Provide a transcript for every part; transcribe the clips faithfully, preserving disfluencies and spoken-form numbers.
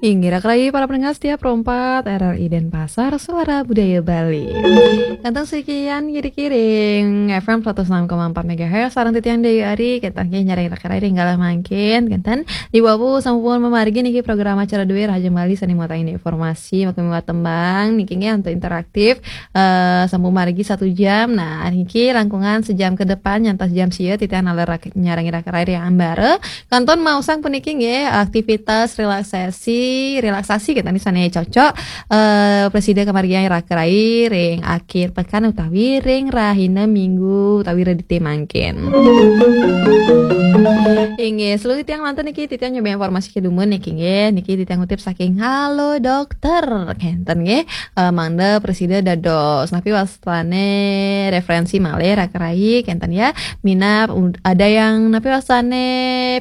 Inggih, raka rayi para pendengar setia Pro empat R R I Denpasar, Suara Budaya Bali. Kantun sekian kiring F M seratus enam koma empat megahertz, sareng titiang Dewi Ari, kenten nggih nyarengin raka rayi ring galah mangkin, kenten. Di wau sampun mamargi niki program acara Due Rahajeng Bali sane muatan informasi, maka miwah tembang, niki nggih antuk interaktif, eh, sampun margi satu jam. Nah, niki langkungan sejam ke depan, nyantos jam sia, titiang naler rak-, nyarengin raka rayi ring ambara. Kantun maosang puniki nggih, aktivitas relaksasi, relaksasi kenten sane cocok, eh, prasida kamargiang raka rayi ring akhir pekan utawi ring rahina Minggu utawi Redite mangkin. Inggih, seluruh titiang lantur niki titiang nyoba informasi kedumun niki nggih, niki titiang ngutip saking Halo Dokter, kenten nggih. Eh, mangda prasida dados napi wastane referensi malih raka rayi, kenten ya. Minab, ud-, ada yang napi wastane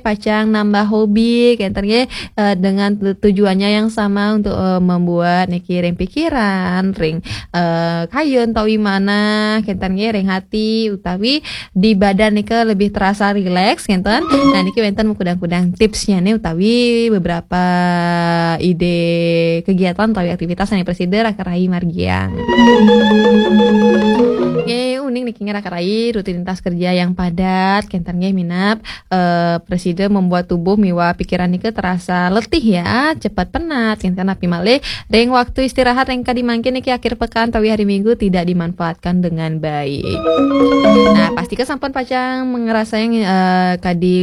pacang nambah hobi, kenten nggih, eh, dengan tu-, tujuannya yang sama untuk, eh, membuat niki ring pikiran, ring, eh, kayun utawi manah, kenten nggih, ring hati utawi di badan nika lebih terasa rileks, kenten. Nah, niki wenten kudang-kudang tipsnya nih utawi beberapa ide kegiatan utawi aktivitas yang prasida raka rayi margiang. Nggih, uning niki nggih raka rayi, rutinitas kerja yang padat, kenten nggih minab, eh, prasida membuat tubuh miwah pikiran nika terasa letih ya, cepat penat, kenten napi malih ring waktu istirahat ring kadi mangkin niki akhir pekan utawi hari Minggu tidak dimanfaatkan dengan baik. Nah, pastika sampun pacang ngrasayang, eh, kadi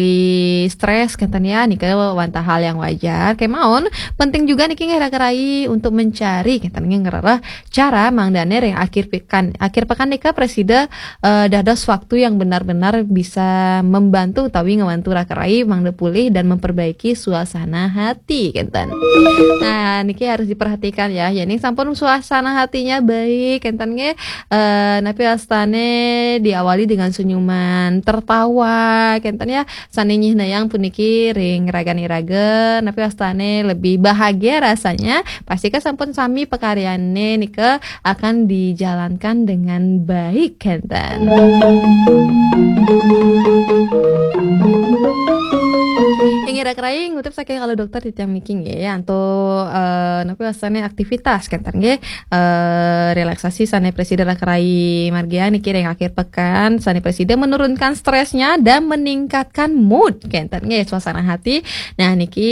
stres kenten ya, nika wantah hal yang wajar. Kemaon, penting juga niki nggih raka rayi untuk mencari kenten nggih ngrereh cara mangdane ring akhir pekan. Akhir pekan nika prasida, eh, dados waktu yang benar-benar bisa membantu utawi ngewantu raka rayi mangda pulih dan memperbaiki suasana hati kenten. Nah, niki harus diperhatikan ya. Yening sampun suasana hatinya baik kenten nggih, eh, napi wastane diawali dengan senyuman, tertawa kenten ya. Sane nyihnayang puniki ring ragan iraga, napi wastane lebih bahagia rasanya. Pastika sampun sami pakaryane nika akan dijalankan dengan baik kenten. Inggih raka rayi ngutip saking Halo Dokter titiang niki nggih, antuk, eh, napi wastane aktivitas kenten nggih, eh, relaksasi sane prasida raka rayi margiang niki ring akhir pekan, sane prasida menurunkan stresnya dan meningkatkan mood kenten nggih, suasana hati. Nah, niki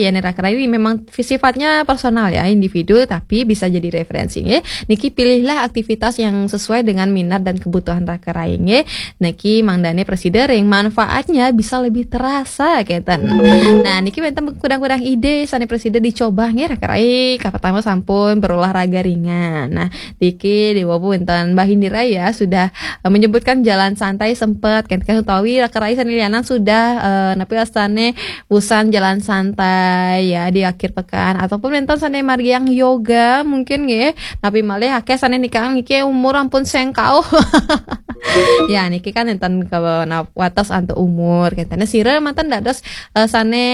yen raka rayi memang sifatnya personal ya, individu, tapi bisa jadi referensi nggih. Niki pilihlah aktivitas yang sesuai dengan minat dan kebutuhan raka rayi nggih. Niki mangdane prasida ring manfaatnya bisa lebih terasa kenten. Nah, niki wenten kudang-kudang ide sane prasida dicoba nggih raka rayi. Kapertama sampun berolahraga ringan. Nah, niki di wau wenten Mbah Indira ya sudah, eh, menyebutkan jalan santai sempet kenten utawi raka rayi sane lianan sudah, eh, napi wastane usan jalan santai ya di akhir pekan, ataupun wenten sane margiang yoga mungkin nggih. Napi malih akeh sane nika niki umur ampun sengkau. Ya, niki kan enten ke na-, wates antuk umur. Kenten sira manten dados, eh, sane,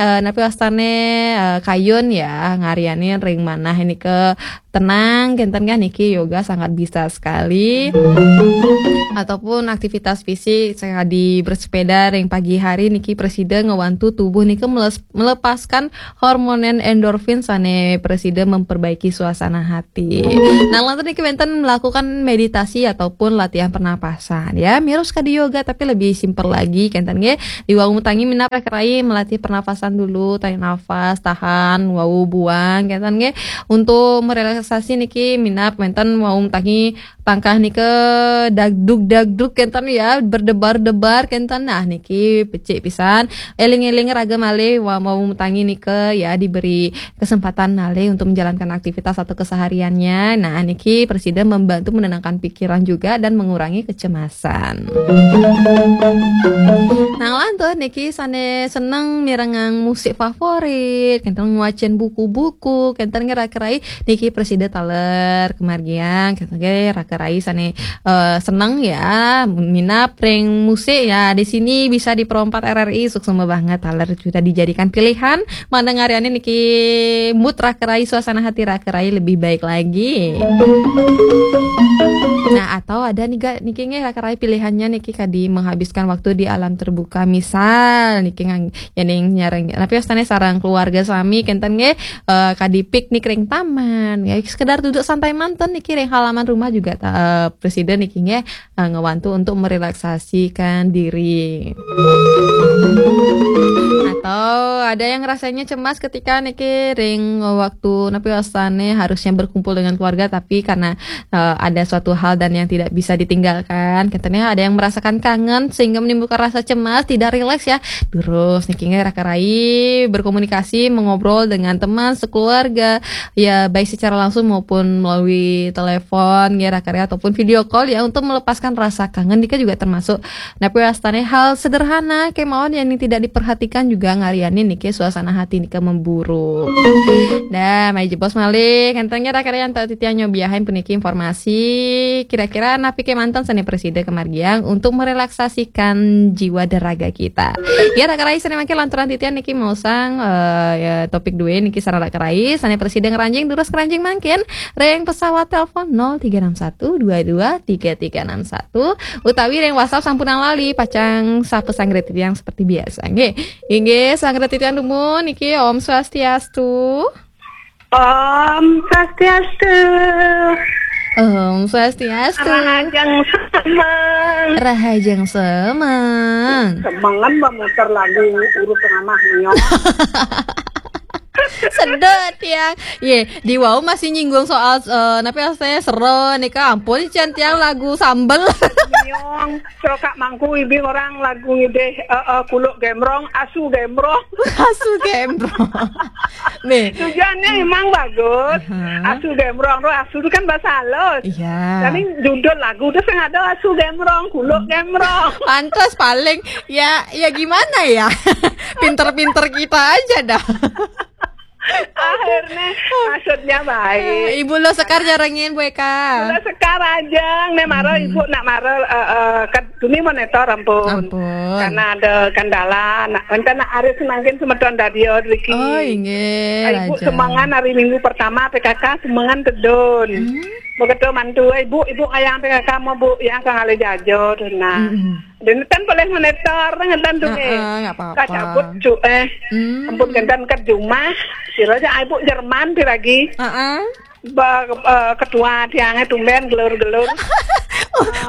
eh, napi wastane, eh, kayun ya, ngaryanin ring manah nika tenang, kenten kan niki yoga sangat bisa sekali. Ataupun aktivitas fisik, sekadi bersepeda ring pagi hari niki prasida ngewantu tubuh nika meles-, melepaskan hormon endorfin sane prasida memperbaiki suasana hati. Nah, lantur niki wenten melakukan meditasi ataupun latihan pernapasan ya. Mirus kadi yoga tapi lebih simpel lagi kenten nggih. Di wau tangi minab raka rayi melatih pernapasan dulu, tarik nafas, tahan, wau buang kenten nggih. Untuk merelaksasi niki minab wenten wau tangi pangkah nika dagdug-dagdug kenten ya, berdebar-debar kenten. Nah, niki becik pisan. Eling-eling raga malih wau tangi nika ya diberi kesempatan malih untuk menjalankan aktivitas atau kesehariannya. Nah, niki prasida membantu menenangkan pikiran juga dan mengurangi kecemasan. Nah, lantur niki sane seneng mirengang musik favorit, kenten ngwacen buku-buku, kenten nggih raka rayi niki prasida taler kamargiang, kenten nggih raka Raka Rai sané eh, seneng ya, minat ring musik ya, di sini bisa di Pro empat R R I, suksma banget, taler sudah dijadikan pilihan, mandengariané niki mood Raka Rai, suasana hati Raka Rai lebih baik lagi. Nah, atau ada nih ga, niki nggih Raka Rai pilihannya niki kadi menghabiskan waktu di alam terbuka. Misal niki ngang, ya ning nyareng, tapi wastané sareng keluarga sami, kénten nggih, eh, kadi piknik ring taman, ya sekedar duduk santai manten niki ring halaman rumah juga ta-, eh, presiden niki nggih, eh, ngewantu untuk merelaksasikan diri. Atau ada yang rasanya cemas ketika niki ring waktu napi wastané harusnya berkumpul dengan keluarga, tapi karena eh, ada suatu hal dan yang tidak bisa ditinggalkan. Katanya ada yang merasakan kangen sehingga menimbulkan rasa cemas, tidak rileks ya. Terus niki nggih Raka Rai berkomunikasi, mengobrol dengan teman sekeluarga, ya baik secara langsung maupun melalui telepon nggih Raka Rai ataupun video call ya, untuk melepaskan rasa kangen. Nika juga termasuk napi wastané hal sederhana kemawon yang tidak diperhatikan juga ngarianin niki suasana hati nika memburuk. Nah, mari jebos malih. Kénten nggih Raka Rai antuk titiang nyobiahin puniki informasi. Kira-kira napi kémanten sané prasida kamargiang untuk merelaksasikan jiwa dan raga kita. Ya, Raka Rai sané mangkin lanturang titiang niki maosang, eh, ya, topik dué niki sareng Raka Rai sané prasida ngranjing, durus ngranjing mangkin ring pesawat telepon nol tiga enam satu dua dua tiga tiga enam satu, utawi ring WhatsApp sampunang lali, pacang sapa sanggra titiang seperti biasa. Nggih. Inggih, sanggra titiang dumun niki, Om Swastiastu. Om Swastiastu. Om Swastiastu. Rahajeng semeng. Rahajeng semeng. Semengan ba muter lagu urut tengah mah nyok. Sedot tiang. Ye, di wau masih nyinggung soal, eh, napi wastané sero nika, ampun can tiang lagu sambel. Nyong, coba mangku ibing orang lagu ngidih, eh, eh, kuluk gembrong, asu gembrong. Asu gembrong. Nih. Tujuannya emang bagus. Aha. Asu gembrong tuh, asu itu kan bahasa halus. Iya. Tapi judul lagu tuh sing ada asu gembrong, kuluk gembrong. Pantes paling ya, ya gimana ya? Pinter-pinter kita aja dah. Akhirnya maksudnya baik. Eh, Ibu Lo Sekar nyarengin, Bu Eka. Lo Sekar aja, nek mara ibu nak mara, eh, eh, kan duni monitor ampun. Ampun. Karena ada kendala, nak, enten nak arep semangkin semeton dadio driki. Oh, inggih, ibu raja. Semengan hari Minggu pertama P K K, semengan tedun. Hmm. Begitu mantu, "Eh, ibu, ibu kayang P K K mau, Bu, yang kang ale jajo," tuh, nah. Mm-mm. Dene kan boleh monitor, ngenten tuh, heeh, nggih. Nggak apa-apa. Kacabut, cu, eh. Hmm. Ampun, ngenten ke rumah, sira aja ibu Jerman piragi. Heeh. Ba, eh, ketua tiangnya tumben gelur-gelur.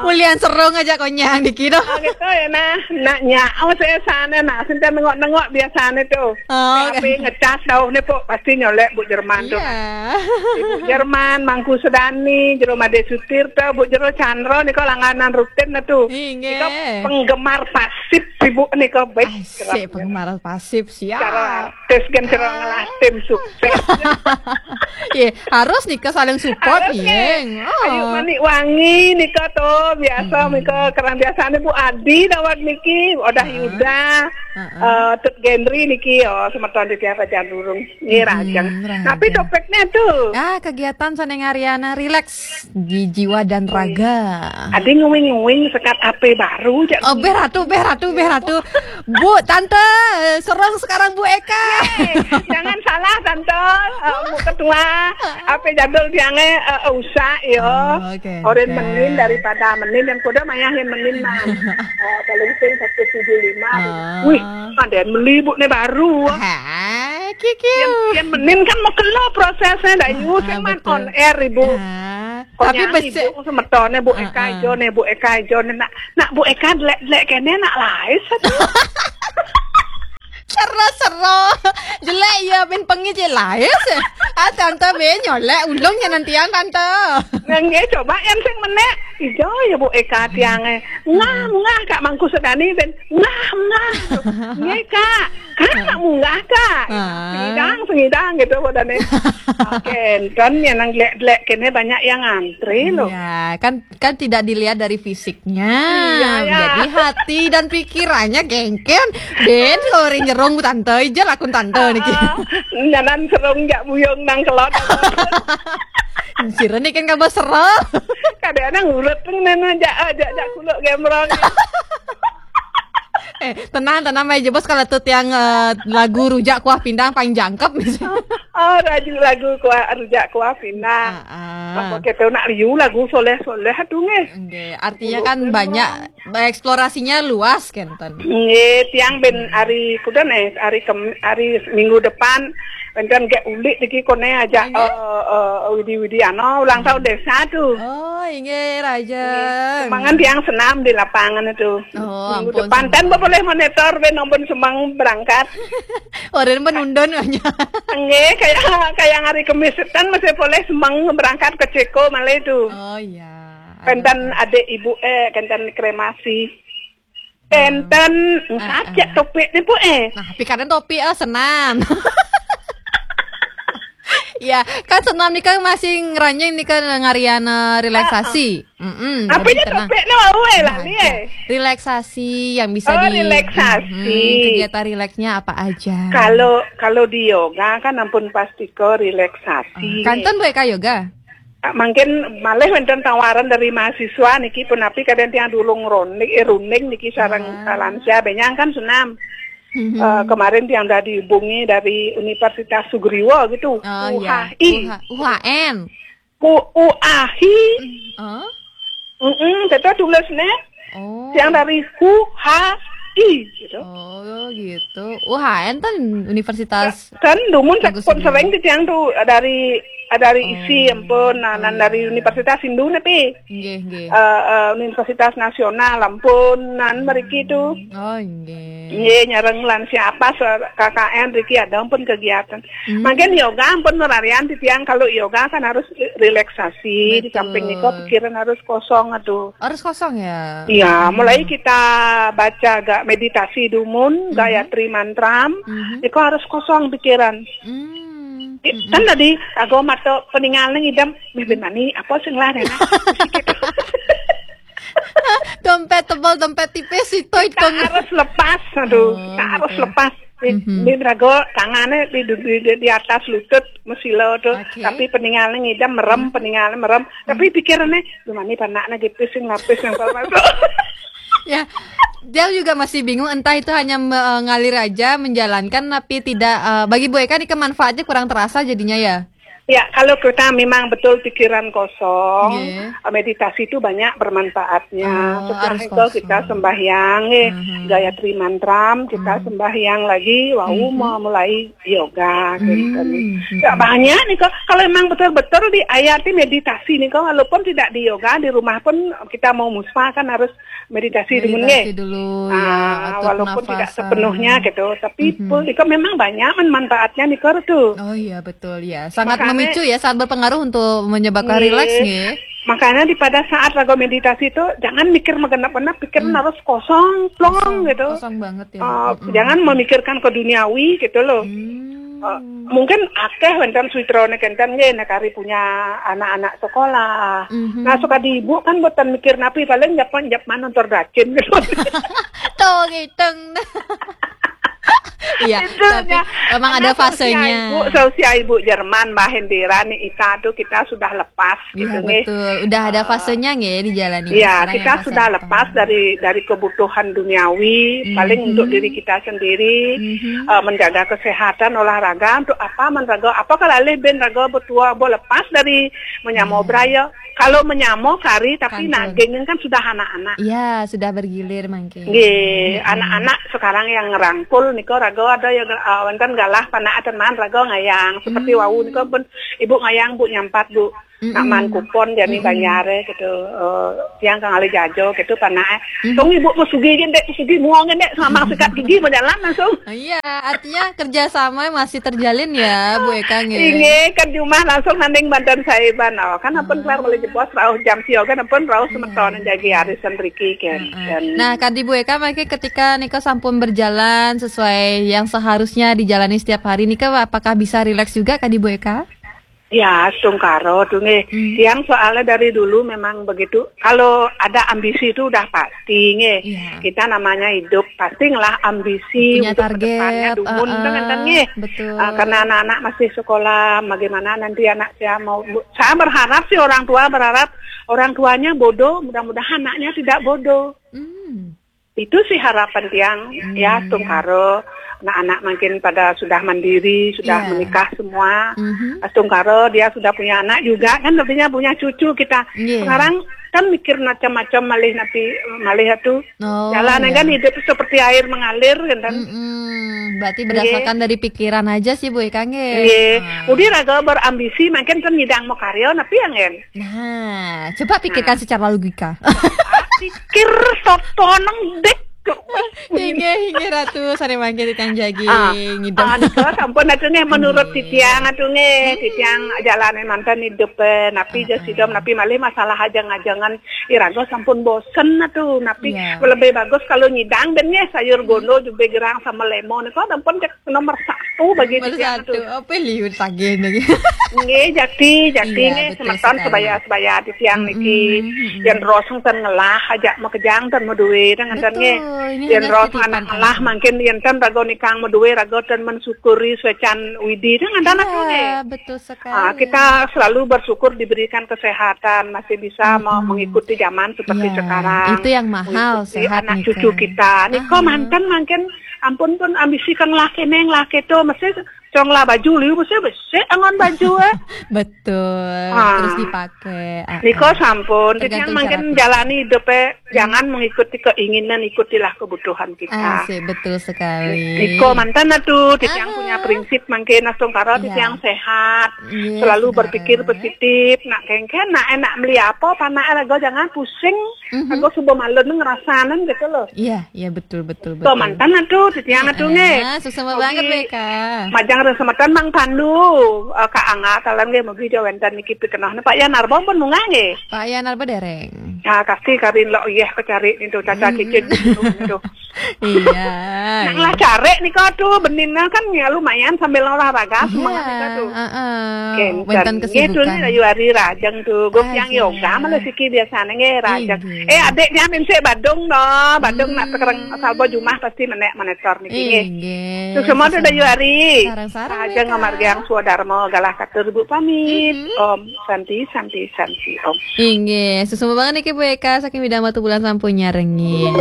Ulian serung aja konyang dikira. Oh, gitu ya, nah. Nak nyak, oh, saya sana, nah, sinten nengok-nengok biasanya tuh. Oh, oke. Tapi ngecas dauh nih, Pok, pasti nyolek Bu Jerman tuh. Iya. Ibu Jerman, Mangku Sedani, Jero Made Sutirta, Bu Jero Chandra nih kok langganan rutin nah tuh. Inggih. Nika penggemar pasif ibu nih kok, baik. Asik, penggemar pasif, siap. Cara artis kan cara ngelah tim sukses. Iya, harus nika saling support, harus, iya. Ayu Manik Wangi nika tuh biasa, hmm, nika kerang biasanya Bu Adi dawat niki, Odah Yuda, eh, Tut Gendri niki, oh, semeton di tiap aja durung. Nggih, Rajang. Tapi topiknya tuh. Ah, kegiatan sané ngariana rileks di jiwa dan raga. Adi nguing-nguing sekat H P baru, jak. Oh, béh Ratu, béh Ratu, béh Ratu. Bu, Tante, serong sekarang Bu Eka. Yeay, jangan salah, Tante. Eh, Bu Ketua, H P jadul tiangnya, eh, usak, yo. Oh, oke. Oren menin daripada menin, yang kuda mayahin menin, nah. Eh, paling sing satu tujuh lima. Ah. Wih, ada yang beli, Bu, nih baru. Hai, kikiu. Yang, yang menin kan mau kelo prosesnya, dah, ah, ibu, ah, sing man betul. On air, Ibu. Ah, tapi pokoknya besik. Ibu semetone, Bu Eka, ah, ah. Ijo nih, Bu Eka, ijo nih, nak, nak Bu Eka delek-delek kene, nak lain satu. Sero-sero. Jelek ya, min pengi je lain sih. Ah, Tante bé nyolek ulung ya nantian, Tante. Nggih, coba yang sing menek. Ijo ya, Bu Eka, tiangnya. Ngah, ngah, Kak Mangku Sedani, ben. Ngah, ngah. Nggih, Kak. Kan nak munggah, Kak. Ah. Sengidang, sengidang gitu, buat aneh. Oke, kan yang nang delek-delek kene banyak yang ngantri loh. Iya, kan, kan tidak dilihat dari fisiknya. Iya, ya. Jadi hati dan pikirannya gengken. Ben, lori nyerong tante, ija lakun tante niki. Ah, nyanan serong jak buyung nang kelot. Sira ni kan kabar sera. Kadang-kadang urut pun nana jak jak jak kuluk gemrong. Eh, tenang, tenang aja bos, kalau tuh tiang eh, lagu rujak kuah pindang paling jangkep misalnya. Oh, raju lagu kuah rujak kuah pinang. Ah, ah. Apa kita nak liu lagu soleh-soleh tu nge. Oke, artinya kan banyak eksplorasinya luas kenten. Nge, tiang ben hari kuda nih, hari kem, hari minggu depan, enten gak ulik lagi kone aja eh eh, widi-widi ano ulang tahun desa tu. Oh, inge raja. Semangat tiang senam di lapangan itu. Oh, Minggu ampun, depan kan senam. Boleh monitor ben nombor semang berangkat. Orang pun undon aja. Nge, kayak kayak hari Kemis kan masih boleh semang berangkat ke Ceko malah itu. Oh iya. Kenten adik ibu eh kenten kremasi. Kenten ngajak topik ni bu eh. Nah, pikiran topi eh senam. Ya, kan senam ni kan masih ngeranyang ni kan ngarian eh, relaksasi. Mm-mm, Apa lebih ya tenang. Topik ni mau eh lah ni eh. Relaksasi yang bisa Oh, di relaksasi. Mm-mm, kegiatan rileksnya apa aja? Kalau kalau di yoga kan ampun pasti ke relaksasi. Kanton boleh kah yoga? Ah, mungkin malah wonten tawaran dari mahasiswa niki pun tapi kadang tiang dulung roning eh, runing niki sarang lansia benyang kan senam. Eh, kemarin tiang udah dihubungi dari Universitas Sugriwa gitu. Oh iya. U H I. U H U H N. U U A H I. Oh. Mm-mm, kita tulis nih. Oh. Yang dari U H I gitu. Oh gitu. U H N kan universitas. Kan dumun Bagus pun ini. Sering di tiang tuh dari dari isi ampun nah, nah, dari Universitas Hindu nih pi. Nggih, nggih. Eh, eh, Universitas Nasional ampun nan meriki itu. Oh, nggih. Iya, nyareng lansia apa se- K K N riki ada ampun kegiatan. Mungkin yoga ampun merarian di tiang kalau yoga kan harus relaksasi di Betul. Samping niko pikiran harus kosong aduh. Harus kosong ya. Iya, mulai kita baca gak meditasi dumun, gayatri mantram, itu harus kosong pikiran. Hmm. I- Kan tadi aku mata peninggalan idam, mimpin mani apa sing lah enak. Dompet tebal, dompet tipis itu Kita hitung. Harus lepas, aduh, Oh, kita harus gitu. Lepas. Di, di raga tangannya di, di, di, di atas lutut mesila tu, Oke. Tapi peninggalan idam merem, peninggalan merem. Tapi pikirannya, gimana panaknya gitu sing lapis yang masuk. Ya, dia juga masih bingung entah itu hanya mengalir aja menjalankan tapi tidak eh, bagi Bu Eka ini manfaatnya kurang terasa jadinya ya. Ya, kalau kita memang betul pikiran kosong, Iya. meditasi itu banyak bermanfaatnya. Oh, Setelah harus itu kosong. Kita sembahyang, eh, gayatri mantram, kita sembahyang lagi, wau mau mulai yoga. Gitu. Hmm, Ya, banyak nih kok. Kalau memang betul-betul di ayat ini meditasi nih kok, walaupun tidak di yoga di rumah pun kita mau muspa kan harus meditasi dulu Meditasi nih. dulu Ah, ya, atur walaupun tidak pernafasan. Sepenuhnya gitu, tapi Mhm. pun itu memang banyak kan manfaatnya nih kok tuh. Oh iya betul ya, sangat Makanya- memicu ya, sangat berpengaruh untuk menyebabkan Iya. Rileks nih. Makanya di pada saat raga meditasi itu jangan mikir menggenap-genap, pikiran harus kosong, plong Kosong, gitu. Kosong banget ya. Uh, Mm-mm. Jangan memikirkan ke duniawi gitu loh. Hmm. Uh, mungkin akeh wonten sutrane kenten nggih nek hari punya anak-anak sekolah. Mhm. Nah, suka di ibu kan buatan mikir napi paling nyapan nyapan nonton racin gitu. Tuh gitu. Iya, Itu tapi ya. emang Karena ada seusia fasenya. Ibu, seusia ibu Jerman, Mbah Hendira nih Ita tuh kita sudah lepas gitu Iya nih. betul. Udah ada fasenya nggih di jalan ini. Iya, Sekarang kita yang fase sudah apa? Lepas dari dari kebutuhan duniawi, Mhm. Paling untuk diri kita sendiri, Mhm. eh, menjaga kesehatan, olahraga, untuk apa menraga, apa kalau alih ben raga bertua, boleh lepas dari menyamo Iya. Beraya. Kalau menyamo kari, tapi Kantor. Naging kan sudah anak-anak. Iya, sudah bergilir mungkin. Nggih, anak-anak sekarang yang ngerangkul nika raga ada yang uh, wonten galah panak teman raga ngayang seperti Hmm. Wau nika pun ibu ngayang bu nyampat bu Mm-mm. nak man kupon jadi Mm-mm. Bayare gitu. Uh, yang kang ale jajo gitu panak. Mm-mm. Tung ibu mau sugi gendek sugi muang gendek sama sikat gigi mau jalan langsung. Iya, artinya kerjasama masih terjalin ya, Bu Eka nggih. Inggih, kan jumah langsung nanding banten saeban. Oh, kan ampun kelar mulai jebos rauh jam sioga kan ampun rauh semeton jagi arisan riki kan. Heeh. Nah, kadi Bu Eka mangke ketika nika sampun berjalan sesuai yang seharusnya dijalani setiap hari nika apakah bisa rileks juga kadi Bu Eka? Ya, astungkara tu nggih. Hmm. Tiang soalnya dari dulu memang begitu. Kalau ada ambisi itu udah pasti nggih. Iya. Kita namanya hidup pasti ngelah ambisi. Punya untuk target, ke depannya dumun, uh-uh, kan, kan, nggih. Betul. Ah, karena anak-anak masih sekolah, bagaimana nanti anak saya mau, saya berharap sih, orang tua berharap orang tuanya bodoh, mudah-mudahan anaknya tidak bodoh. Hmm. Itu sih harapan tiang, ya, hmm, astungkara. Nah, anak makin pada sudah mandiri, sudah, iya, menikah semua. Mhm. Astungkara dia sudah punya anak juga, kan, artinya punya cucu kita. Iya. Sekarang kan mikir macam-macam, malih napi, malih atu. Oh, jalan, iya, kan, hidup seperti air mengalir, kan. Mm-mm. Berarti, nggih, berdasarkan dari pikiran aja sih, Bu, ya, Kang, ya? Nggih. Ah. Udi raga berambisi, makin kan nyidang mau karya, napi yang, kan? Nah, coba pikirkan, nah, secara logika. Pikir soto nang dek. Inggih, inggih, Ratu, sané mangke titiang jagi, ah, ngidem. Ah, nika sampun atu nggih, menurut, inggih, titiang atu nggih, hmm, titiang jalanin manten hidup, eh, napi, ah, jas, ah, sidom, napi malih masalah ajeng-ajengan iraga sampun bosen atu, napi, iya, lebih bagus kalau nyidang ben nggih sayur, hmm, gondo, jubé gerang sama lemo nika sampun cek nomor satu bagi, nomor satu, titiang atu. Apa liu tagih niki? Nggih, jakti, jakti, iya, nggih, betul semeton sekali. Sebaya-sebaya titiang niki. Mm-mm, mm-mm. Yén roseng ten ngelah, ajak makejang ten madué, ten ngenten nggih. Betul, ini hanya titipan aja. Yén roseng anak ngelah, mangkin yén ten raga nikang madué, raga ten mensyukuri suécan Widi, ten ngenten atu nggih. Iya, betul sekali. Ah, kita selalu bersyukur diberikan kesehatan, masih bisa, mm-mm, me-, mengikuti zaman seperti, iya, sekarang. Itu yang mahal, mengikuti sehat anak nika. Cucu kita. Nika, aha, manten mangkin ampun pun ambisi kan ngelah kéné ngelah kéto, mesti cong lah baju liu, mesti besik angon baju, eh. Betul, ah, terus dipakai, ah, nika, ah, sampun, tergantung titiang mangkin cara pikir. Jalani hidup, eh, iya, jangan mengikuti keinginan, ikutilah kebutuhan kita. Asik, betul sekali. Nika manten atu, titiang, ah, punya prinsip mangkin astungkara, iya, titiang sehat, iya, selalu sebenarnya berpikir positif, nak kéngkén, nak enak meli apa, panak raga jangan pusing. Mhm. Aku suba malun ngerasanen gitu loh. Iya, iya, betul, betul, betul. Manten atu, titiang atu nggih. Heeh, suksma banget, mugi Bu Eka. Majeng ring semeton Mang Pandu, eh, Kak Angga, taler nggih, mugi ja wénten niki pikenohné. Pak Yanarba pun munggah nggih. Pak Yanarba dereng. Ya, kasti karin lo, iya, kecari nitu, caca, mm-mm, cicit nitu. Iya. Nang lah cari nika tuh, benina kan ya lumayan sambil olahraga, iya, semangat nika tuh. Heeh. Kénten. Wénten nggih, tuh kesibukan. Nih, ayu hari rajeng tuh. Gus yang, asik, yoga malah siki biasanya nggih rajeng. Inggih. Eh, adiknya minsik Badung no, Badung nak, hmm, tekereng salba jumah pasti menék monitor niki nggih. Inggih. Terus semua tuh ayu hari. Sareng-sareng, rajeng, Eka. Ngamargiang swadarma galah katur Bu pamit. Mm-mm. Om Santi, Santi, Santi, Om. Inggih, suksma banget niki Bu Eka saking Widang Batubulan sampun nyarengin.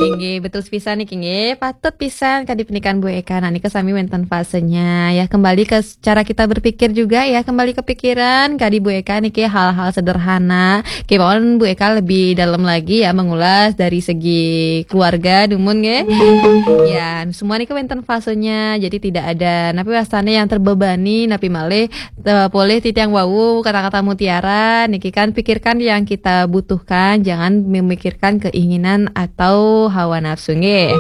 Inggih, betul pisan niki nggih. Patut pisan kadi penikan Bu Eka. Nah, nika sami wénten fasenya. Ya, kembali ke cara kita berpikir juga ya, kembali ke pikiran. Kadi Bu Eka niki hal-hal sederhana. Kémaon Bu Eka lebih dalam lagi ya mengulas dari segi keluarga dumun nggih. Ya, semua niki wénten fasenya. Jadi tidak ada napi wastané yang terbebani, napi malih, eh, polih titiang wau kata-kata mutiara niki kan, pikirkan yang kita butuhkan, jangan memikirkan keinginan atau hawa nafsu nggih.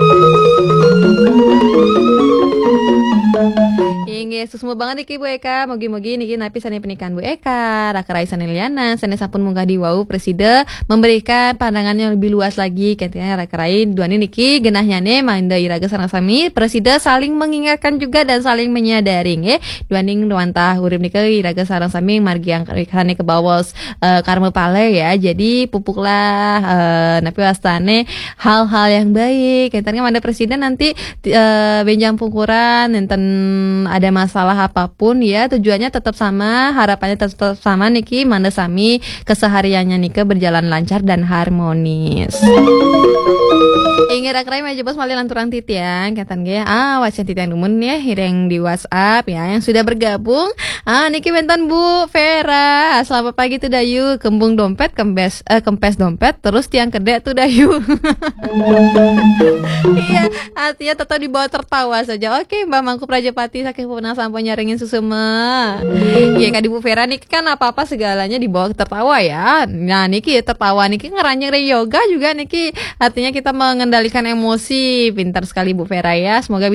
Inggih, suksma banget niki Bu Eka. Mugi-mugi niki napi sané penikan Bu Eka, raka rai sané lianan, sané sampun munggah di wau prasida memberikan pandangan yang lebih luas lagi. Kénten raka rai duaning niki genahnya né mangda iraga sareng sami prasida saling mengingatkan juga dan saling menyadari nggih. Duaning wantah urip nika iraga sareng sami margiang sané kabaos, eh, karma pala ya. Jadi pupuklah, eh, napi wastané hal-hal yang baik. Kénten mangda prasida nanti, eh, bénjang pungkuran, nénten ada masalah apapun ya, tujuannya tetap sama, harapannya tetap sama niki, mangda sami kesehariannya nika berjalan lancar dan harmonis. Inggih raka rai, malih jebos malih lanturang titiang, kénten nggih. Ah, wacén titiang dumun ya, iring di WhatsApp ya, yang sudah bergabung. Ah, niki wénten Bu Vera. Selamat pagi tuh Dayu. Kembung dompét, kempes, eh, kempes dompét, terus tiang kedék tuh Dayu. Iya, artinya tetap dibawa tertawa saja. Oke, Mbak Mangku Prajapati, saking pun sampun nyarengin suksma. Iya, kadi Bu Vera niki kan apa-apa segalanya dibawa tertawa ya. Nah, niki tertawa niki ngeranjing ring yoga juga niki. Artinya kita mengendalikan emosi. Pintar sekali Bu Vera ya. Semoga